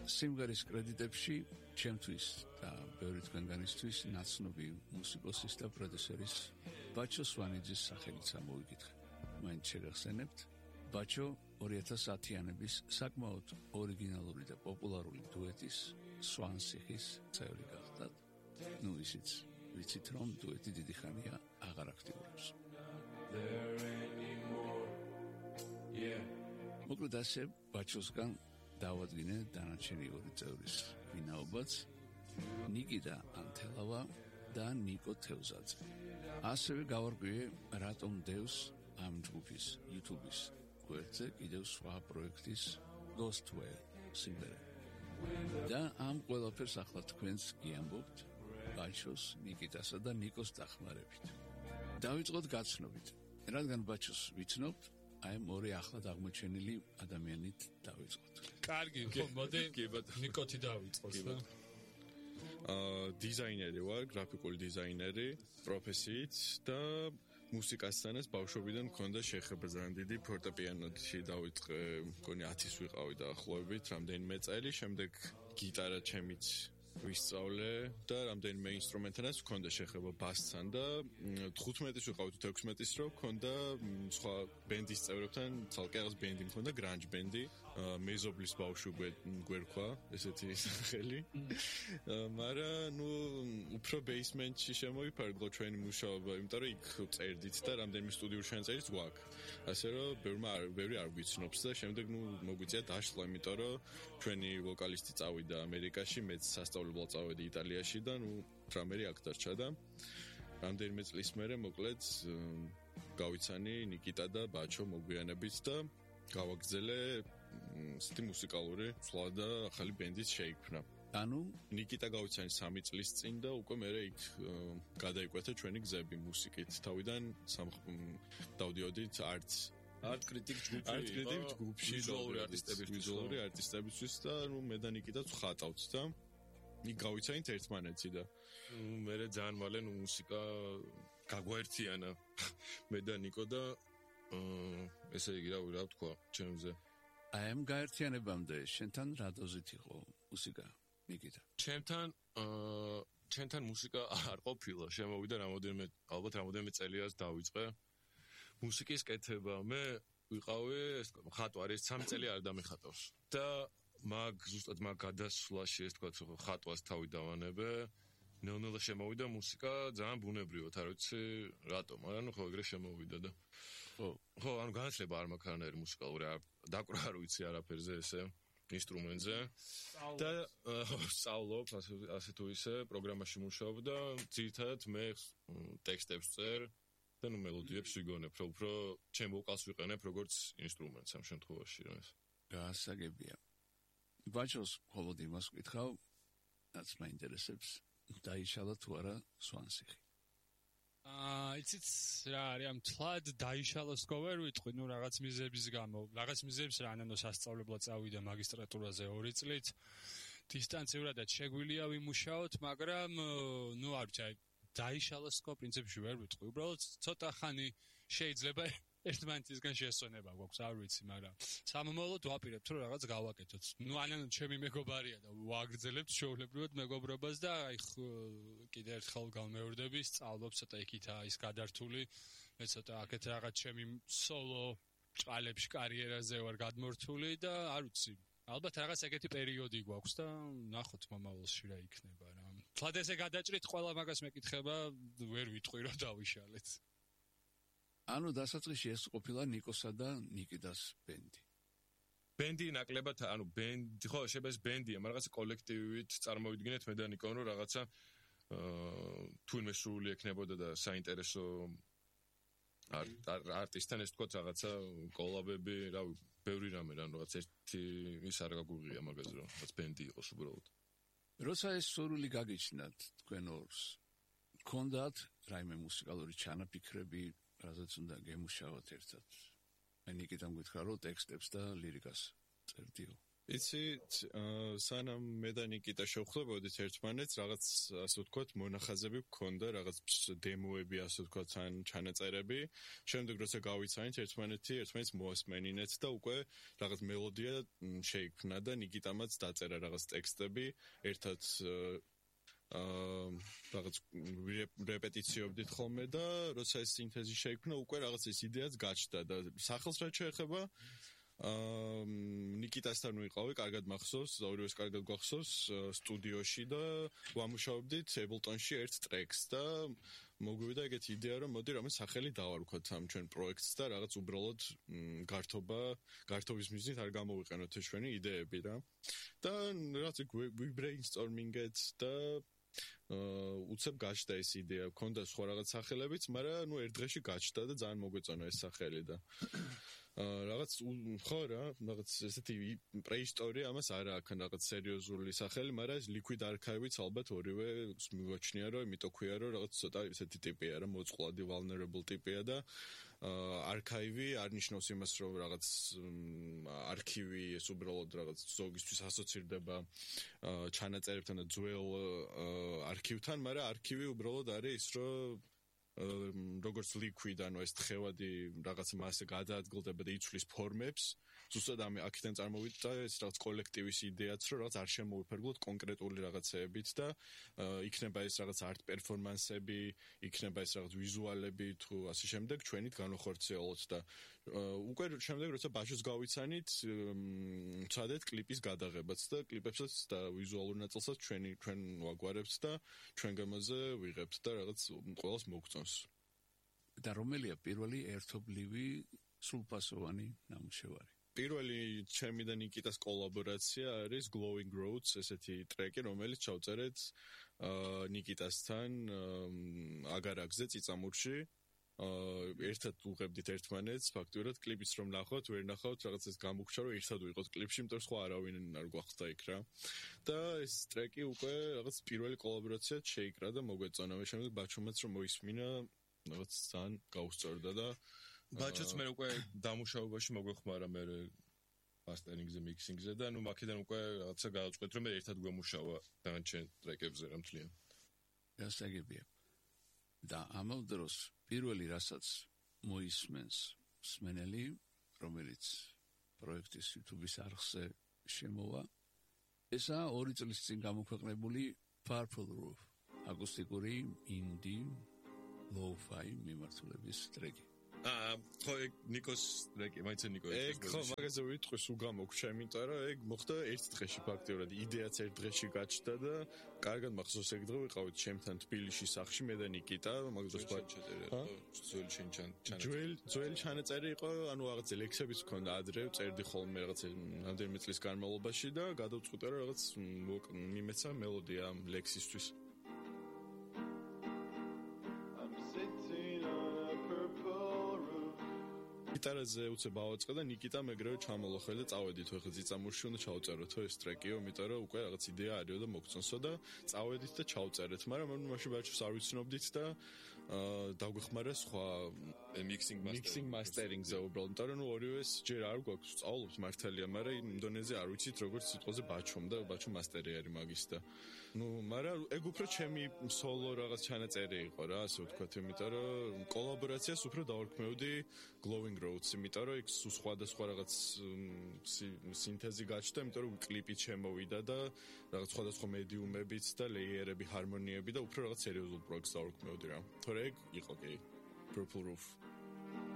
სიმღერის კრედიტებში ჩემთვის და ბევრი თქვენგანისთვის ნაცნობი მუსიკოსის და პროდიუსერის ბაჩო სვანიძის სახელიც ამოვიკითხე. მაინც შეგახსენებთ, ბაჩო 2010-იანების საკმაოდ ორიგინალური და პოპულარული დუეტის სვანსიხის წევრი გახდათ. ნუ ისიც ვიცით, რომ დუეტი დიდი ხანია აღარ აქტიურობს. მოკლედ ასე ბაჩოსგან დავადგინე დანარჩენი ორი წევრის ვინაობაც, ნიკიტა ანთელავა და ნიკო თევზაძე. ასევე გავარკვიე, რატომ დევს ამ ჯგუფის YouTube-ის გვერდზე კიდევ სხვა პროექტის Ghostware სიმღერა. და ამ ყველაფერს ახლა თქვენს გიამბობთ ბაჩოს, ნიკიტასა და ნიკოს დახმარებით. დავიწყოთ გაცნობით. რადგან ბაჩოს ვიცნობთ, აი ორი ახლად აღმოჩენილი ადამიანით დავიწყოთ. კარგი, მოდი ნიკოთი დავიწყოთ და დიზაინერი ვარ, გრაფიკული დიზაინერი, პროფესიით და მუსიკასთანაც ბავშვობიდან მქონდა შეხება ძალიან დიდი ფორტეპიანოთი დავიწყე, მგონი 10-ის ვიყავი დაახლოებით, რამდენიმე წელი, შემდეგ გიტარა ჩემიც ვისწავლე და რამდენიმე ინსტრუმენტთანაც მქონდა შეხება ბასთან და 15-ის ვიყავი თუ 16-ის რო მქონდა სხვა ბენდის წევრებთან, ცალკე რაღაც ბენდი მქონდა, გრანჯ ბენდი, მეზობლის ბავშვი გვერქვა, ესეთი სახელი. მაგრამ ნუ უფრო ბეისმენტში შემოვიფარგლო ჩვენი მუშაობა, იმიტომ რომ იქ წერდით და რამდენიმე სტუდიურ შენწერიც გვაქვს. ასე რომ ბევრი არ გვიცნობს და შემდეგ ნუ მოგვიწია დაშლა, იმიტომ რომ ჩვენი ვოკალისტი წავიდა ამერიკაში, მეც სასწავლებლად წავედი იტალიაში და ნუ დრამერი აქ დარჩა და რამდენიმე წლის მერე მოკლედ გავიცანი ნიკიტა და ბაჩო მოგვიანებით და გავაგრძელე ისეთი მუსიკალური ცვლა და ახალი ბენდიც შეიქმნა. ანუ ნიკიტა გავიცანი 3 წლის წინ და უკვე მერე იქ გადაიკვეთა ჩვენი გზები მუსიკით. თავიდან დავდიოდით art critic ჯგუფში ვიზუალური არტისტებისთვის და ნუ მე და ნიკიტაც ხატავთ და იქ გავიცანით ერთმანეთში და მე ძალიან მალე ნუ მუსიკა გაგვაერთიანა მე და ნიკო და ესე იგი რა ვთქვა ჩემზე. აი ამ გაერთიანებამდე შენთან რა დოზით იყო მუსიკა ნიკიტა? ჩემთან მუსიკა არ ყოფილა, შემოვიდა ალბათ რამოდენიმე წელიას დავიწყე მუსიკის კეთება. მე ვიყავი ხატვარი, 3 წელი არ დამეხატავს და ზუსტად მაგ გადასვლაში ეს თქვა ხატვას თავი დავანებე. ნელ-ნელა შემოვიდა მუსიკა ძალიან ბუნებრივად, არ ვიცი რატომ, მაგრამ ხო ეგრე შემოვიდა და ხო, ანუ განათლება არ მაქვს არანაირი მუსიკალური, დაკვრა არ ვიცი არაფერზე ესე ინსტრუმენტზე და სწავლობ ასე თუ ისე პროგრამაში მუშაობ და ძირითადად მე ტექსტებს წერ და ნუ მელოდიებს ვიგონებ, უფრო ჩემ ვოკალს ვიყენებ როგორც ინსტრუმენტს ამ შემთხვევაში რა ეს. გასაგებია. ბაჩოს მხოლოდ იმას ვკითხავ, რაც მაინტერესებს, დაიშალა თუ არა სვანსიხი. იცით რა არის ამ თლად დაიშალოს ხო ვერ ვიტყვი, ნუ რაღაც მიზების გამო, რაღაც მიზებს რა ანანო სასწავლებლად წავიდა მაგისტრატურაზე 2 წლით. დისტანციურადაც შეგვიძლია ვიმუშაოთ, მაგრამ ნუ არ ვიცი, დაიშალოს ხო პრინციპში ვერ ვიტყვი. უბრალოდ ცოტა ხანი შეიძლება ერთმანეთისგან შესვენება გვაქვს, არ ვიცი, მაგრამ სამომავლოდ ვაპირებთ რომ რაღაც გავაკეთოთ. ნუ ანანო ჩემი მეგობარია და ვაგრძელებთ შეულებრივად მეგობრობას და აი კიდე ერთხელ გამეორდები, სწავლობ ცოტა იქითა ის გადართული, მე ცოტა აქეთ რაღაც ჩემი სოლო ჭალებში კარიერაზე ვარ გადმორთული და არ ვიცი, ალბათ რაღაც ეგეთი პერიოდი გვაქვს და ნახოთ მომავალში რა იქნება რა. თლად ესე გადაჭრით ყველა მაგას მეკითხება, ვერ ვიტყვი რომ დავიშალეთ. ანუ დასაწყისში ეს ყოფილა ნიკოსა და ნიკიტას ბენდი. ბენდი ნაკლებად, ანუ ბენდი, ხო, შეიძლება ეს ბენდია, მაგრამ რაღაცა კოლექტივით წარმოვიდგინეთ მე და ნიკო, რომ რაღაცა თუნდაც სრული ექნებოდა და საინტერესო არტისტთან ეს თქვა რაღაცა კოლაბები, რა ბევრი რამე რა, რაღაც ერთი ის არ გაგუღია მაგაზე, რომ რაღაც ბენდი იყოს უბრალოდ. როცა ეს სრული გაგიჩნდათ თქვენ ორს, გქონდათ რაიმე მუსიკალური ჩანაფიქრები, რაზეც უნდა გემუშავოთ ერთად? მე ნიკიტამ გითხრა, რომ ტექსტებს და ლირიკას წერდიო. იცი, სანამ მე და ნიკიტა შევხვდებოდით ერთმანეთს, რაღაც ასე ვთქვათ, მონახაზები გქონდა, რაღაც დემოები, ასე ვთქვათ, ან ჩანაწერები. შემდეგ როცა გავიცანით ერთმანეთს მოასმენინეთ და უკვე რაღაც მელოდია შეიქმნა და ნიკიტამაც დაწერა რაღაც ტექსტები, ერთად რაღაც რეპეტიციობდით ხოლმე და როცა ეს სინთეზი შეიქმნა, უკვე რაღაც ეს იდეაც გაჩნდა და სახელს რაც შეეხება ნიკიტასთან ვიყავი, კარგად მახსოვს, ორივეს კარგად გვახსოვს სტუდიოში და ვამუშავებდით Ableton-ში ერთ ტრეკს და მოგვივიდა ეგეთი იდეა, რომ მოდი რამე სახელი დავარქვათ ამ ჩვენ პროექტს და რაღაც უბრალოდ გართობის მიზნით არ გამოვიყენოთ ეს ჩვენი იდეები რა. და რაღაც brainstorming-ეთ და უცებ გაჩნდა ეს იდეა, მქონდა სხვა რაღაც სახელებიც, მაგრამ ერთ დღეში გაჩნდა და ძალიან მოგვეწონა ეს სახელი და რაღაც ხო რა, რაღაც ესეთი პრეისტორია ამას არ აქვს რაღაც სერიოზული სახელი, მაგრამ ეს Liquid Archive-იც ალბათ ორივე მივაჩნია, რომ იმიტომ ქვია, რომ რაღაც ცოტა ესეთი ტიპია რა, მოწყვლადი vulnerable ტიპია და archive არ ნიშნავს იმას, რომ რაღაც არქივი ეს უბრალოდ რაღაც ზოგისთვის ასოცირდება ჩანაწერებთან და ძველ არქივთან, მაგრამ არქივი უბრალოდ არის ის, რომ როგორც liquid, ანუ ეს თხევადი რაღაც მასე გადაადგილდება და იცვლის ფორმებს, ზუსტად აქედან წარმოვიდა ეს რაღაც კოლექტივის იდეაც, რომ რაღაც არ შემოუფერგლოთ კონკრეტული რაღაცეებით და იქნება ეს რაღაც art performance-ები, იქნება ეს რაღაც ვიზუალები თუ ასე შემდეგ ჩვენით განვახორციელოთ და უკვე შემდეგ როცა ბაჟოს გავიცანით, ვცადეთ კლიპის გადაღებაც და კლიპებსაც და ვიზუალურ ნაწილსაც ჩვენ ვაგვარებთ და ჩვენ გამოზე ვიღებთ და რაღაც ყველას მოგწონს. და რომელია პირველი ერთობლივი სრულფასოვანი ნამუშევარი? პირველი ჩემი და ნიკიტას კოლაბორაცია არის Glowing Roads, ესეთი ტრეკი, რომელიც ჩავწერეთ ნიკიტასთან აგარაკზე წიწამურში. ერთად უღებდით ერთმანეთს, ფაქტურად კლიპიც რომ ნახავთ, ვერ ნახავთ, რაღაც ეს გამოგჩა, რომ ერთად ვიყოთ კლიპში, იმიტომ რომ სხვა არავინ არ გვახსდა იქ რა. და ეს ტრეკი უკვე რაღაც პირველი კოლაბორაციაც შეიკრა და მოგვეწონა. მე შემდეგ ბაჩომაც რომ მოისმინა, რაღაც ძალიან გაუსწორდა და ბაჩოც მე უკვე დამუშავებაში მოგვეხმარა მე მასტერინგზე, მიქსინგზე და ნუ მაქედან უკვე რაღაცა გავაწყვეტ რომ მე ერთად გვემუშავა დანარჩენ ტრეკებზე რა მთლიან. გასაგებია. და ამავ დროს პირველი რასაც მოისმენს მსმენელი, რომელიც პროექტის YouTube-ის არხზე შემოვა, ესაა 2 წლის წინ გამოქვეყნებული Purple Roof, აკუსტიკური ინდი lo-fi მიმართულების ტრეკი. ხო, ნიკოს ტრეკი, მაინც ნიკო. ხო, მაგაზე ვიტყვი სულ გამოგჩა, იმიტომ რომ ეგ მოხდა ერთ დღეში ფაქტიურად, იდეაც ერთ დღეში გაჩნდა და კარგად მახსოვს ეგ დღე ვიყავით ჩემთან თბილისში სახლში მე და ნიკიტა, მაგას ძველი ჩანაწერი იყო, ანუ რაღაც ლექსებიც მქონდა ადრე, წერდი ხოლმე რაღაც რამდენიმე წლის განმავლობაში და გადავწყვიტე რომ რაღაც მიმეცა მელოდია ამ ლექსისთვის. გიტარაზე უცებ ავაწყე და ნიკიტა მეგრევე ჩამოლოხე და წავედით ხო წიწამურში უნდა ჩავწეროთო ეს ტრეკიო, იმიტომ რომ უკვე რაღაც იდეა არისო და მოგწონსო და წავედით და ჩავწერეთ, მაგრამ მაშინ ბაჩოს არ ვიცნობდით და დაგვეხმარა სხვა mixing mastering-ზე უბრალოდ, იმიტომ რომ ორივეს ჯერ არ გვაქვს სწავლობთ მართალია, მაგრამ იმდონეზე არ ვიცით როგორც სიტყვაზე ბაჩომ და ბაჩო მასტერი არის მაგის და მაგრამ ეგ უფრო ჩემი სოლო რაღაც ჩანაწერი იყო რა, ასე ვთქვათ, იმიტომ რომ კოლაბორაციას უფრო დავარქმევდი Glowing Roads, იმიტომ რომ იქ სხვადასხვა რაღაც სინთეზი გაჩნდა, იმიტომ რომ კლიპით შემოვიდა და რაღაც სხვადასხვა მედიუმებიც და ლეიერები, ჰარმონიები და უფრო რაღაც სერიოზულ პროექტს დავარქმევდი რა. თორე ეგ იყო კი Purple Roof.